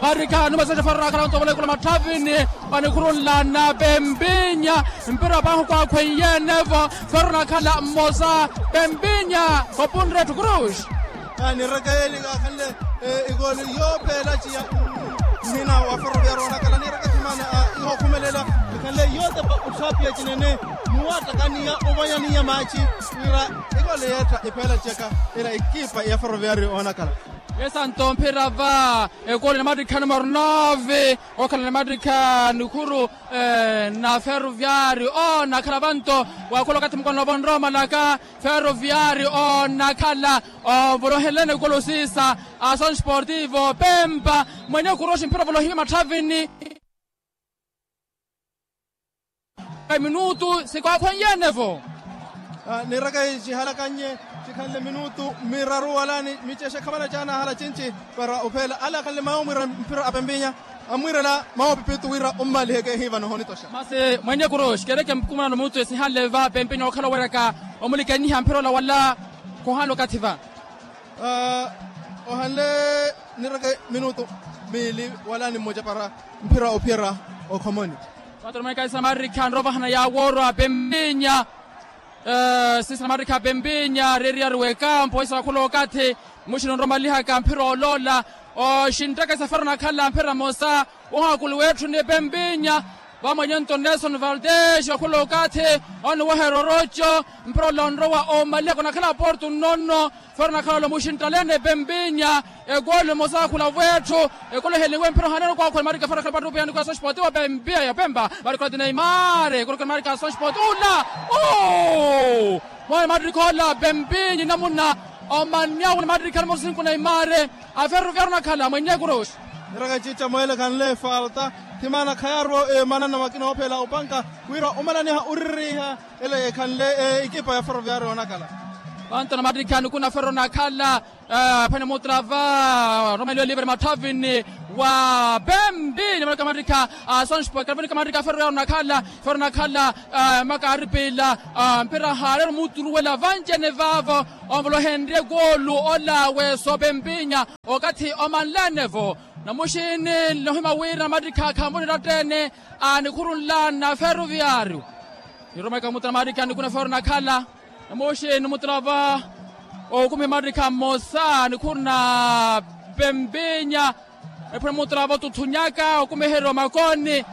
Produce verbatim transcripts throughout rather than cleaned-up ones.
Arikha numasexa fero nakhala ontovola ikula matthavini. Onikhurunlana pempinya mpira pahi kwakhwenyenevo. Fero nakhala mmosa pempinya kopunre ethu cruz. Niireke yeeli kaakhanle ikoli yoopeela ciya. Nhina wa ferroviario onakhala niireke thimana ihokhumelela ikhanle yootepa otthapiya cinene. Muwattakaniya ovanyaniya maaci wira ikoli yeetta ipeela ciyaka ila ekipa ya ferroviario onakhala. Esanto mphira va ekoli namattikha numero nove okhala namattikha nikhuru na ferroviario onakhala vanto. Wakhula okathi mukono vonromalaka ferroviario onakhala ovolohelene ekoli osiisa. Ason sportivo pempa mwenye kuroxi mphira ovolohiwe matthavini. Minutu sikwakhwenyenevo. Niiraka icihalakannye cikhanle minutu miraru wala ni micexe khavana caanahala cinci para opheela ale akhanle mayo omwiira mphira a pempinya. Amwiirela mayo pipitu wira ommaliheke ehivano honitoxa masi mwenye kuroxi kereke mpukumanano minutu esihanle va pempinya okhala oweraka omulikenyiha mphira ola wala khuhanle okathi va. Ohanle nireke minutu miili wala ni mmoja para mphira ophiyerya okhomoni. Patromeka isamarikha nrovahana yaawoorwa pempinya. Sisa namarikha pempinya reeriyari w'ekampo isa wakhula okathi muxini onromalihaka mphira oloola. Oxintaka isafari onakhala mphira mmosa. Wohaakulu wetthu ni pempinya vamwenye nto nelson valdez okhula okathi oniweherya oroco. Mphira ola onrowa omalihaka onakhala porto nnono. Fero onakhala olomuxinttalene pempinya. Ekolo emosa akhula wetthu. Ekolo eheliwe mphira ohanene okwakhula marika fero akhala pattupiya nikola soxpotiwa pempiya ya pempa marikola ti neimare ekolo khala marika soxpoti ula. Mwawe matrikha ola pempinya namuna. Omanyawe na matrikha numero sinku neimare. Aferuviaru onakhala mwenye kuruxi. Niraka ecica mweele ekhanle efalta. Thimana khayaaruwa emanana makina oophela opanka wira omalaniha oririha. Ele ekhanle ekipa ya ferroviario onakhala. Vanto namattikha nikuna ferro onakhala. Aphwene mutrava romeliwe livre mathavini wa pempi nimalika mattikha. Asonspo ekalavunika mattikha ferro yaaro onakhala. Ferro onakhala. Makaaripila mpira haareera omuturuwela vanci-ene vaavo. Onvolohenrye koolu ola weso pempinya okathi omanlene-vo. Namuxini nlohima wira namattikha khamuniratta-ene. Anikhurunla na ferroviario. Niromeka mutala maarikha nikuna ferro onakhala. Namuxini mutala va okumiha maarikha mmosa nikhuruna pempinya. Niphwene mutala va otuthunyaka okumiherya omakoni.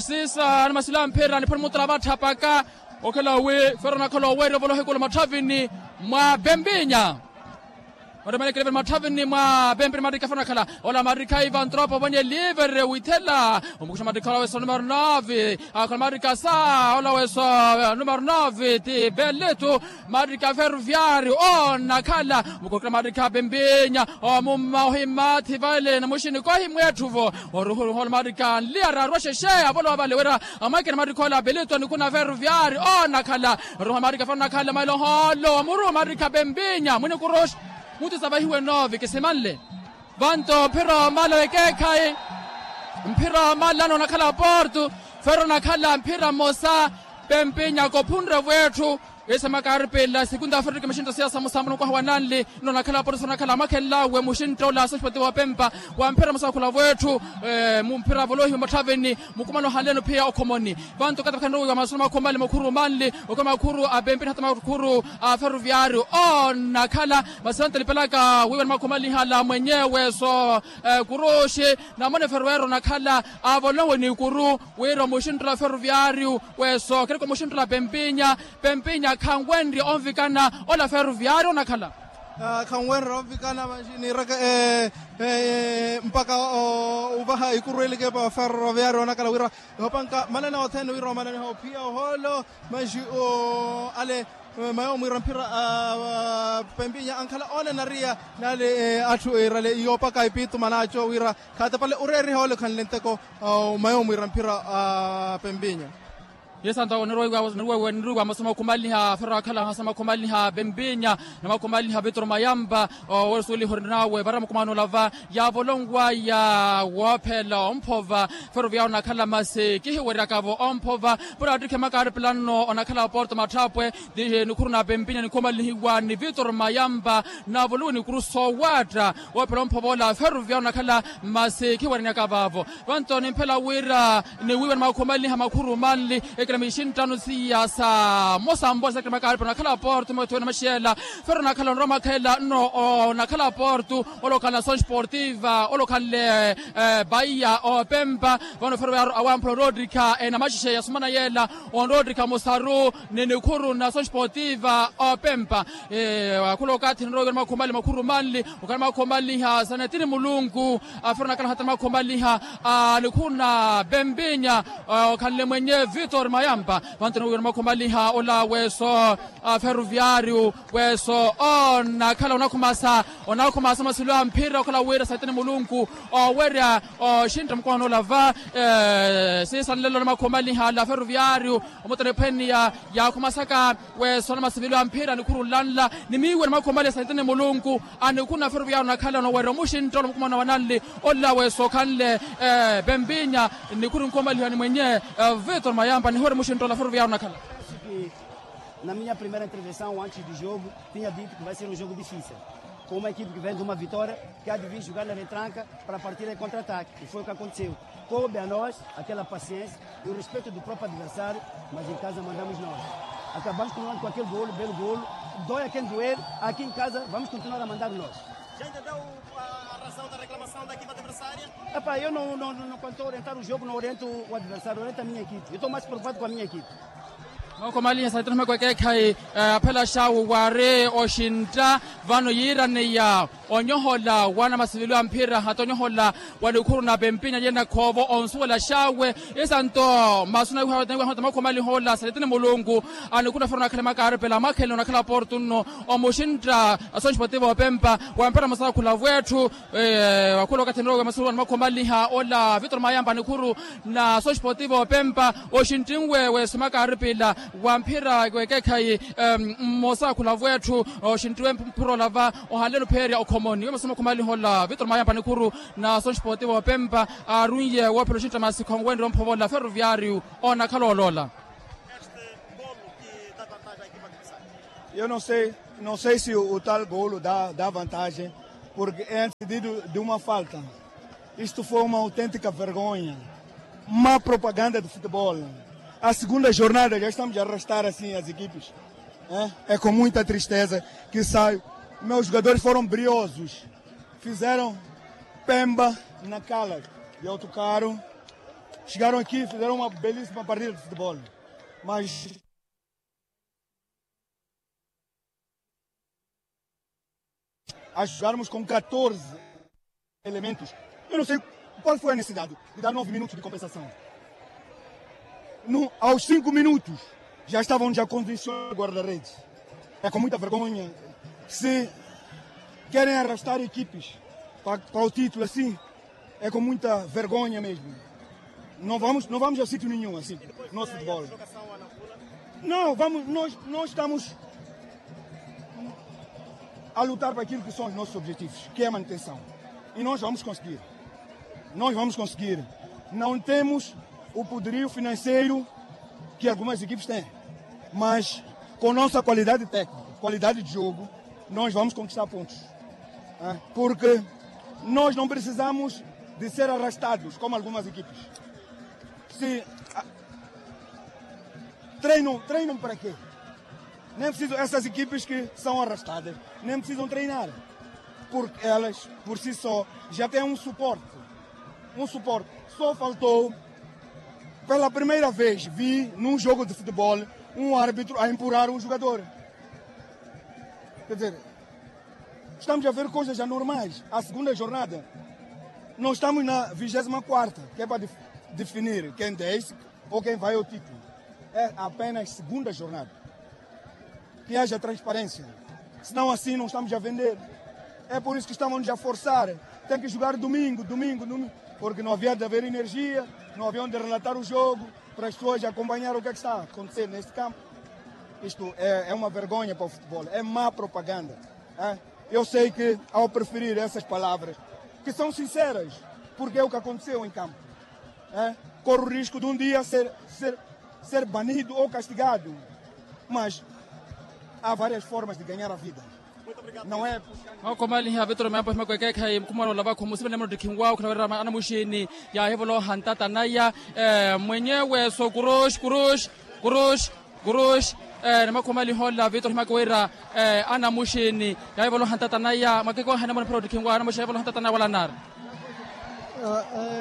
Sisa animasila mphira niphwene mutala va atthapaka. Okhela wi ferro onakhala oweerya ovolohekula mathavini mwa pempinya. Oremelekele vene mathavini mwa pempeni maarikha fana akhala ola maarikha ivan tropa ovonye livre withela. Omukuxa maarikha ola weso numero nove. Akhala maarikha sa ola weso numero nove ti beletu. Maarikha ferroviario onakhala mukokela maarikha pempinya. Omumma ohimathi vale namuxini kohimwetthu-vo. Oruhuruhu ola maarikha nliyara arwa xexe avolowa vale wira amwekene maarikha ola beletu anikuna ferroviario onakhala. Ruha maarikha fana onakhala mailo hoolo omuru maarikha pempinya mwini kuruxi. Mutu savahiwe nove kisimanle. Vanto mphira omala wekeekhayi. Mphira omala nonakhala porto. Ferro onakhala mphira mmosa. Pempinya kophunre wetthu. Esa makaaripila segunda afrika maxinta siyasa musambo nukwaha wa nanli. Nonakhala porto sonakhala amakhenlawe muxintta ola soxpoti wa pempa. Wa mphira mmosa akhula wetthu. Mumphira avolohiwe mathavini. Mukumano hanleno phiya okhomoni. Vantu okathi vakhanrowiwa masuna makhumali makhuru manli. Okhala makhuru a pempini hata makhuru a ferroviario onakhala. Masi vantu alipelaka wiiwa ni makhumali hala mwenyewe so kuruxi. Namone ferroviario onakhala avolohiwe ni kuru. Wira omuxinttula ferroviario weso kereke omuxinttula pempinya. Pempinya khanwenrye onvikana ola ferroviario onakhala. Khanwenrye onvikana vanji niireke mpakha ovaha ikuru elikepa ferroviario onakhala wira ehopanka manana othene wira omananiha ophiya ohoolo. Manji ale mayo mwiira mphira pempinya ankhala oonanariya nale atthu iirale iyoopaka ipitu manaaco wira khaatepale oreeriha ole khanle nteko. Mayo mwiira mphira pempinya. Yesanto niriwa masu makhumanliha ferro akhala hasa makhumanliha bembinya na makhumanliha vitoro mayamba. Wesuweliha orinawe vara mukumano olava yavolonwaya woophela omphova. Ferro vyawo onakhala masi kihiweryakavo omphova. Pura attikhe makaari pulano onakhala porto matthapwe. Nikhuru na bembinya nikhumanlihiwa ni vitoro mayamba. Navolowe nikuru soowatta woophela omphova ola ferro vyawo onakhala masi khiweranyaka vavo. Vanto nimphela wira niwiiwa ni makhumanliha makhuru manli ekilami xinttano siya sa mosambola sa ekilami kaaripa onakhala porto mwethiwe na maxela. Ferro onakhala onrowa mwakhela nno onakhala porto. Olokhanle asoon sportiva olokhanle baiya opempa. Vano ferro vyawo awamphula onrowa ottikha enamaxexe ya sumana yela onrowa ottikha musaru ni nikhuru na asoon sportiva opempa. Akhula okathi nrowa iwe ni makhumanli makhuru manli. Okhala makhumanliha sa netini mulunku. Afiro nakhala hata makhumanliha a nikhuna bembinya okhanle mwenye vitor mayamba. Vantoni wiwira makhumanliha ola weso a ferroviario weso onakhala onakhumasa onakhumasa masilu a mphira okhala wira satini mulunku owerya oxintta mukwano ola va. Sisanlelo na makhumanliha la ferroviario omutoni ephweniya yakhumasaka weso na masivilo a mphira nikhuru nlanla ni miiwe na makhumanliha satini mulunku. Anikhuna ferroviario nakhala nowerya omuxintta ola mukumana wa nanli ola weso okhanle bembinya. Nikhuru nkhumalihiwa ni mwenye vitor mayamba nihowerya omuxintta ola ferroviario nakhala. Na minha primeira intervenção antes do jogo tinha dito que vai ser um jogo difícil, com uma equipe que vem de uma vitória, que há de vir jogar na retranca para partir em contra-ataque, e foi o que aconteceu. Coube a nós aquela paciência e o respeito do próprio adversário, mas em casa mandamos nós. Acabamos com aquele golo, belo golo, dói a quem doer, aqui em casa vamos continuar a mandar nós. Já entendeu a razão da reclamação da equipa adversária? Epá, eu não, não, não, quando estou a orientar o jogo, não oriento o adversário, oriento a minha equipe. Eu estou mais preocupado com a minha equipe. Mwakhomaliha saitini humeko ekeekhayi aphela xawu wari oxintta vano yiiraneya onyohola wana masivilo a mphira hata onyohola wa nikhuru na pempinya yena khoovo onsuwela xawe. Isanto masu naiwaha hota mwakhomaliha ola saitini mulunku. Anikhuna fero nakhala makaaripela mwakhele onakhala porto nno omuxintta asonxi potivo opempa wampera musakhula vwetthu. Wakhula okathi nrowe masuru anamakhumanliha ola vitor mayamba nikhuru na soxi potivo opempa oxinttinwe wesimaka aripila wa mphira wekekhayi. Mmosa akhula vwetthu oxinttiwe mphura olava ohanleni opheerya okhomoni we masu makhumanliha ola vitor mayamba nikhuru na soxi potivo opempa. Aarunye woophela oxintta masikho wenre omphovola ferroviario onakhala oloola. Eu não sei, não sei se o tal golo dá, dá vantagem, porque é antecedido de uma falta. Isto foi uma autêntica vergonha, má propaganda do futebol. A segunda jornada já estamos a arrastar assim as equipes. É com muita tristeza que saio. Meus jogadores foram briosos, fizeram pemba na cala de Autocarro. Chegaram aqui, fizeram uma belíssima partida de futebol. Mas a jogarmos com catorze elementos, eu não sei qual foi a necessidade de dar nove minutos de compensação. No, aos cinco minutos já estavam já condicionando o guarda-redes. É com muita vergonha. Se querem arrastar equipes para o título assim, é com muita vergonha mesmo. Não vamos, não vamos a sítio nenhum assim, nosso futebol. Não, vamos, nós, nós estamos a lutar para aquilo que são os nossos objetivos, que é a manutenção. E nós vamos conseguir. Nós vamos conseguir. Não temos o poderio financeiro que algumas equipes têm, mas com nossa qualidade técnica, qualidade de jogo, nós vamos conquistar pontos. Porque nós não precisamos de ser arrastados como algumas equipes. Se treinam, treinam para quê? Nem preciso, essas equipes que são arrastadas nem precisam treinar, porque elas por si só já têm um suporte. Um suporte. Só faltou, pela primeira vez vi num jogo de futebol, um árbitro a empurrar um jogador. Quer dizer, estamos a ver coisas anormais. A segunda jornada, nós estamos na vigésima quarta, que é para definir quem desce ou quem vai ao título. É apenas segunda jornada. Que haja transparência. Senão assim não estamos a vender. É por isso que estamos a forçar Tem que jogar domingo, domingo, domingo, porque não havia de haver energia, não havia onde relatar o jogo para as pessoas acompanhar o que é que está acontecendo neste campo. Isto é uma vergonha para o futebol, é má propaganda. Eu sei que, ao preferir essas palavras, que são sinceras, porque é o que aconteceu em campo, corre o risco de um dia ser, ser, ser banido ou castigado, mas há várias formas de ganhar a vida. Não é? Mwakhomaliha vitoro miapo himakwekekhayi mukhumola olavakhu musivela muttikhinwa okhala wira anamuxini yaahivoloha ntata naya mwenyewe so kuruxi kuruxi kuruxi kuruxi. Ni mwakhomaliha ola vitoro himaka wira anamuxini yaahivoloha ntata naya mwakekekhayi namuna phira ottikhinwa anamuxini yaahivoloha ntata naya wala nari.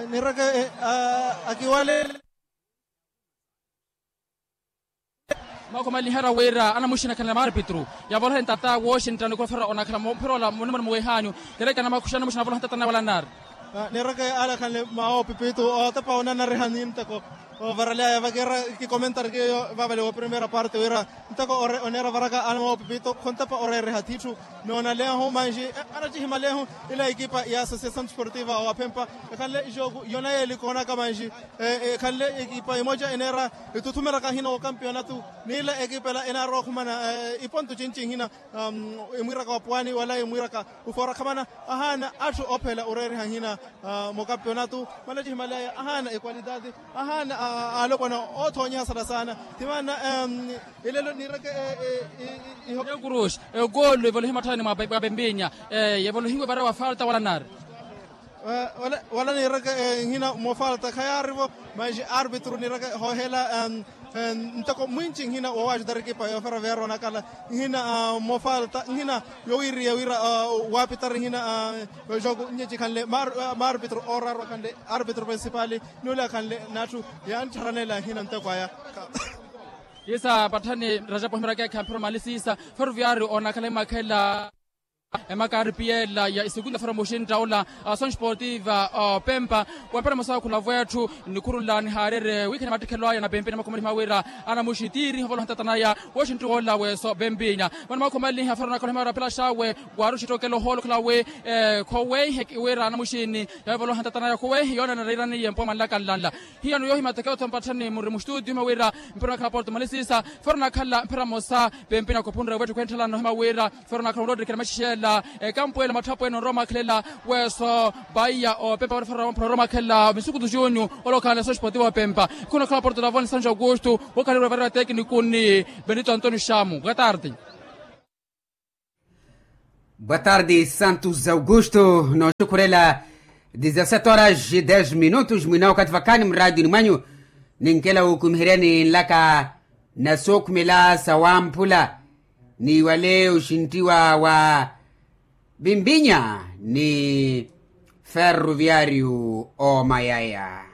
Nireke akiwalele. Mwakhomaliherya wira anamuxina akhanle maarpitru yavolohe ntata wooxintta nikhufera onakhala mphira ola munimuni muwehanyu. Terekana mwakhusha anamuxina avolohe ntata naya wala nari. Nireke ale akhanle mawoopipitru otepa onanariha ni nteko ovaraliyaya vakiira kikomentari kiyo vavale wa primeira parte wira nteko oneera varaka ana mawoopipitru khontepa oreeriha ttitthu. Noonalehu manxi anacihimalehu ila ekipa ya associação desportiva wa phempa ekhanle jogo yona yeeli koonaka manxi ekhanle ekipa emoja eneera etuthumelaka hina wa campeonato n'ila ekipa ela enaarowa okhumana iponto cinci hina emwiiraka wa puwani wala emwiiraka ufoora khamana ahaana atthu ophela oreeriha hina mu campeonato manacihimaleya ahaana equalidade ahaana alopwana othonyeha sana sana. Timaana elelo niireke iho kuruxi egoolo evolohiwe matthani mwa pempinya yevolohiwe vara wa falta wala nari. Wala niireke nhina mofalta khayaarivo manxi arpitru niireke hoohela nteko mwinci nhina wowaaxutari ekipa yoofera veera onakhala nhina mofalta nhina yowiiriya wira waapitari nhina jogo nnyeci khanle maarpitru ooraarwa khanle arpitru principali n'ule akhanle n'atthu yanttharaneela nhina nteko aya. Siisa patthani rajapo himarakekha mphira omali siisa ferroviario onakhala imakhela emaka aripiyela ya isikunda fera muxintta ola asoxportiva opempa wempera mosa okhula vwetthu nikhurula nihaarerye wiikhana mattikhelo aya na pempinya mwakhomaliha wira anamuxi tiiriha ovoloha ntata naya wooxintti woola weeso pempinya vano mwakhomaliha fera onakhala himawe rapelaxawe waaruxi ettokelo ohoolo okhala wi khoweehi wira anamuxini yavoloha ntata naya khoweehi yoonana riiraniye mpuwa mwanlaka nlanla. Hiyano yoohimatteke otho mpatthani muri mustutio hima wira mpira onakhala porto malisiisa fora onakhala mphira mosa pempina kopunre wettu khwenthalano hima wira fora onakhala onroottekela maxixela ekampu ela matthapwene onrowa omakhelela weeso paiya opempa fora onrowa omakhelela misukutu junyu olokhala neso esportivo opempa khuna onakhala porto lavoni sancho augusto wokhalirwe varira teknikuni. Benito antonio xamu boa tarde. Boa tarde santos augusto nooxukhurela. Dezasete horas e dez minutos mwina okathi vakhaani muraationi mwanyu ninkela wukumiheryani nlaka na sookhumela sa wamphula ni wale oxintiwa wa pimpinya ni ferroviario omayaya.